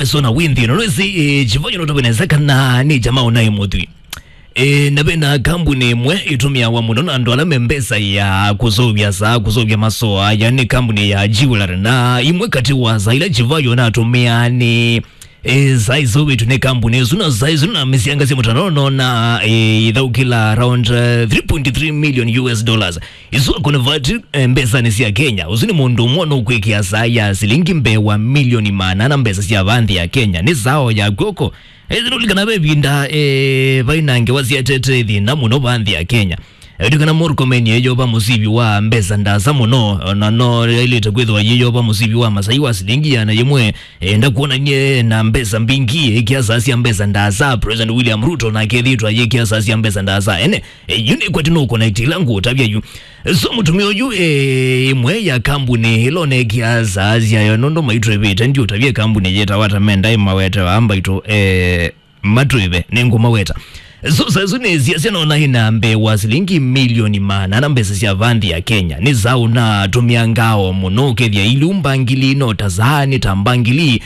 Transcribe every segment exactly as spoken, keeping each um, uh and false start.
Sona wĩnthĩ ĩno, nĩwĩsĩ, eh, Chivayo nũtavĩ nesa kana nĩ jamaa ũnaĩ mũthwii. Eh, na vena kambuni ĩmwe ĩtũmĩawa mũno na andũ ala me mbesa ya kũsũvya saa, kũsũvya masoa, yani kambuni ya jewelry. Na imwe katĩ wa saa ila Chivayo natũmĩaa nĩ, eh, saa isũvĩtwe nĩ kambuni ĩsu, na saa isu na mĩsianga sya mũtandao nona, eh, ithaũkĩla around, eh, three point three million U S dollars. Isu akonevati, eh, mbesanĩ sya Kenya. Ũsu nĩ mũndũ ũmwe nũkwĩkĩa saa ya silingi mbee wa milioni maana na mbesa sya va nthĩ ya Kenya. Nĩ saa o ya kw'oko. Ĩthĩnũlikana ve ĩvinda, eh, vai na ngewa syetete thĩna mũno va nthĩ ya Kenya. Ĩndĩ kana Murkomen eyova mũsivi wa mbesa ndasa mũno, ona no yailĩte kwĩthĩwa yĩyova mũsivi wa masai wa silingi yana yĩmwe, eh, ndakuonanie na mbesa mbingĩ, ĩkĩa saa sya mbesa ndasa. President William Ruto nake ethĩĩtwe ayĩkĩa saa sya mbesa ndasa. Ene, eh, yu nĩ kwati no connect ila ngũtavya yu. So mũtumĩa ũyu, eh, ĩmwe ya kambuni ĩla ũnekĩa saa syayo, nũndũ maitwĩvĩte, ndiũtavye kambuni yĩtawa ta menda ĩmawete wa mbaitũ, eh, matwĩve, nĩngũmaweta. So, saa isu nĩ siasya nona ĩna mbee wa silingi milioni maana na mbesa sya va nthĩ ya Kenya. Nĩ saa ũnatũmĩa ngao mũno, ũkethĩa ilu mbangili, no ta saa nĩ ta mbangili.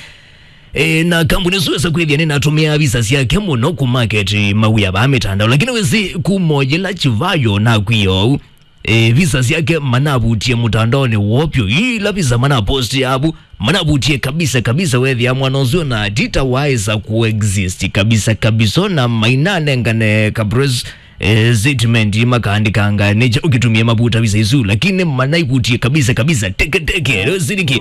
E, na kambuni ĩsu ĩsa kwĩthĩa nĩnatũmĩa visa syake mũno kũ market mawĩa vaa mĩtandao. Lakini wĩsĩ kuma yĩla Chivayo nakwĩa ũu, e, visa syake manavutie mũtandaonĩ woo vyũ. Ila visa manaposti avu, manavutie kabisa kabisa. Wethĩa mwana ũsu na tita waĩsa kuexist kabisa kabisa, na mainanengane ka press, eh, statement makaandĩkanga nĩkya ũkĩtumie mavuta visa isu, lakini manaivutie kabisa kabisa. Teke teke, leo siniki.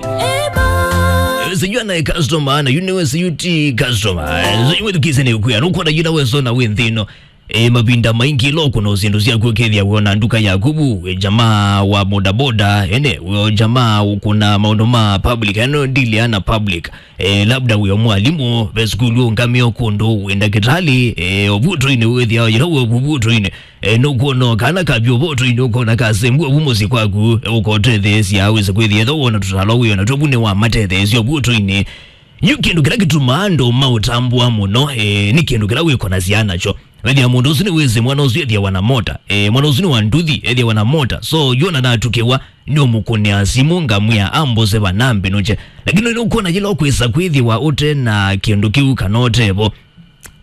Sijua naye customer, na yune we siyuti customer. Sijua tukise ni ukuya, nukuona yuna we sona we nthĩ ĩno. E, mavinda maingĩ ĩla ũkũna syĩndũ syaku ũkethĩa wĩona nduka yaku vu, e, jamaa wa bodaboda, ene, wĩo jamaa ũkũna maũndũ ma public, yani ndili ana public. E, labda wĩo mwalimũ, ve sukulu ũngamĩo kũndũ, wĩ ndakĩtalĩ, e, ũvutoinĩ wĩthĩao yĩla wĩ ũvutoinĩ. E, nũkwona kana kavyo ũvutoinĩ ũkona kasembua vu mũsyĩ kwaku, e, ũkotetheesya, wĩse kwĩthĩa ethwa wona tũtalo wĩona tũvu nĩ wa matetheesya ũvutoinĩ. Yu kĩndũ kĩla kĩtumaa andũ maũtambũa mũno, e, nĩ kĩndũ kĩla wĩkonasya nakyo. Wethĩa mũndũ ũsu nĩwĩsĩ mwana ũsu ethĩawa na mota. E, mwana ũsu nĩ wa nduthi, ethĩawa na mota. So, yona natukĩwa, nĩũmũkũnĩa simũ, ngamwĩa ambose vana mbĩnũkye. Lakini nũkwona yĩla ũkwĩsa kwĩthĩwa ũte na kĩndũ kĩu kana ũtevo,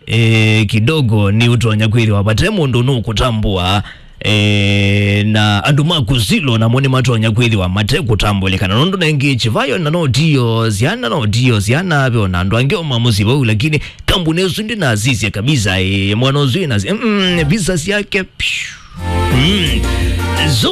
e, kidogo nĩ ũtonya kwĩthĩwa vate mũndũ nũkũtambũa, e, na andũ maku silo namo nĩmatonya kwĩthĩwa mate kũtambũlĩkana. Nũndũ nengĩ Chivayo na no tio syana, no tio syana, ve ona andũ angĩ o ma mũsyĩ vau, lakini kambuni ĩsu ndĩnasisya kabisa, e, mwana ũsu ĩnasisya, mm, visa syake, pyu. Mm. So,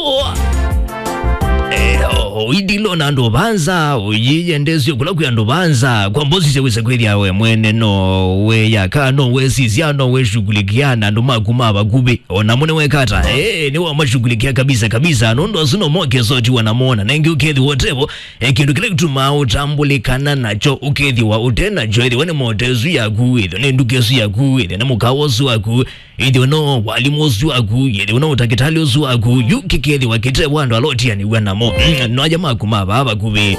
eh, o-, oidilo na andũ vanza, oyiyendesyo kula kwi andũ vanza, kwa mbosi sya wĩsa kwĩthĩa we mwene no weyaka, no wesisya, no weshughulikia na andũ maku ma vakuvĩ. Ona mune wekata, eh, nĩ wamashughulikia kabisa kabisa, nũndũ asu no moke sotiwa na mona, na ĩngĩ ũkethĩwa ũtevo, eh, kĩndũ kĩla kĩtumaa ũtambũlĩkana nakyo, ũkethĩwa ũte nakyo, ĩthĩwa nĩ motesu yaku, ĩthĩwa nĩ nduka ĩsu yaku, ĩthĩwa nĩ mũkawa ũsu waku, ĩthĩwa no walimũ ũsu waku, ĩthĩwa no ũtakĩtalĩ ũsu waku, yu kĩkethĩwa kĩtevo andũ ala ũtianĩw'a namo. Mm, no aja maku ma vaa vakuvĩ.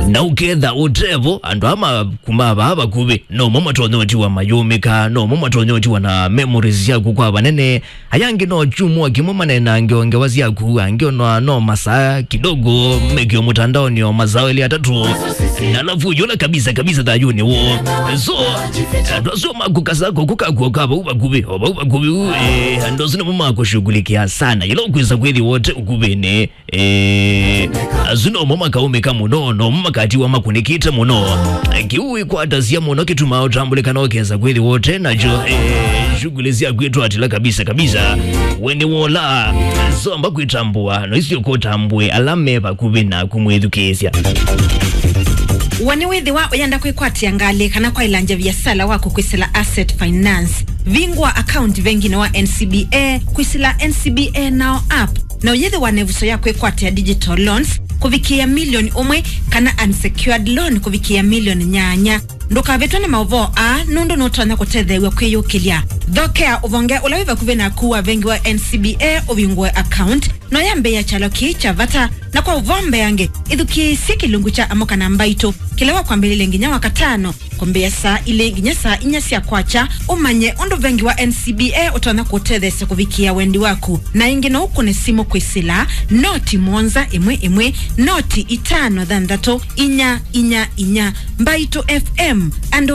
Na ũketha ũtevo, andũ aa maku ma vaa vakuvĩ, no mo matonya ũtiwa mayũmĩka, no mo matonya ũtiwa na memories syaku kwa vanene. Aya angĩ no kyumwa kĩmwe manenange o ngewa syaku, angĩ ona no masaa kidogo, mekio mũtandaonĩ o masaa elĩ atatũ. Na alafu yũla kabisa kabisa thayũnĩ woo. So, andũ asu makũkasa kũkũ kakuo ka vau vakuvĩ, o vau vakuvĩ u, eh, andũ asu nĩmo makũshughulikia sana. Yĩla ũkwĩsa kwĩthĩwa ũte ũkuvĩnĩ, eh, asu nomo makaũmĩka mũno, nomo makatiwa makũnĩkĩte mũno. Kĩu wĩkwatasya mũno kĩtumaa ũtambũlĩkana ũkesa kwĩthĩwa ũte nakyo, eh, shughuli syaku itwatĩla kabisa kabisa. We nĩ wola, somba kwĩtambũa, no isio kũtambũe ala me vakuvĩ naku mwĩthukĩĩsya. We nĩwĩthĩwa ũyenda kwĩkwatĩa ngalĩ kana kwaĩlangya viasala waku kwĩsĩla Asset Finance? Vingũa account venginĩ wa N C B A, kwĩsĩla N C B A Now app, na ũyĩthĩwa na ĩvuso ya kwĩkwatĩa digital loans kũvikĩĩa milioni ũmwe kana unsecured loan kũvikĩĩa milioni nyanya. Ndũkavĩtwe nĩ maũvoo aa, nũndũ nũtonya kũtetheew'a kwĩyũkĩlya. Thokea ũvonge ũla wĩ vakuvĩ naku wa vengi wa N C B A ũvingũe account. No yambĩĩa kyalo kĩĩ kya vata, na kwa ũvoo mbeange, ĩthukĩĩsye kĩlungu kya Amũka na Mbaitũ kĩla wakwambĩlĩlye nginya Wakatano, kwambĩĩa saa ilĩ nginya saa inya sya kwakya, ũmanye ũndũ vengi wa N C B A ũtonya kũtetheesya kũvikĩĩa wendi waku. Na ĩngĩ, no ũkũne simũ kwĩsĩla noti mũonza ĩmwe ĩmwe, noti itano thanthatũ, inya inya inya. Mbaitũ F M, andũ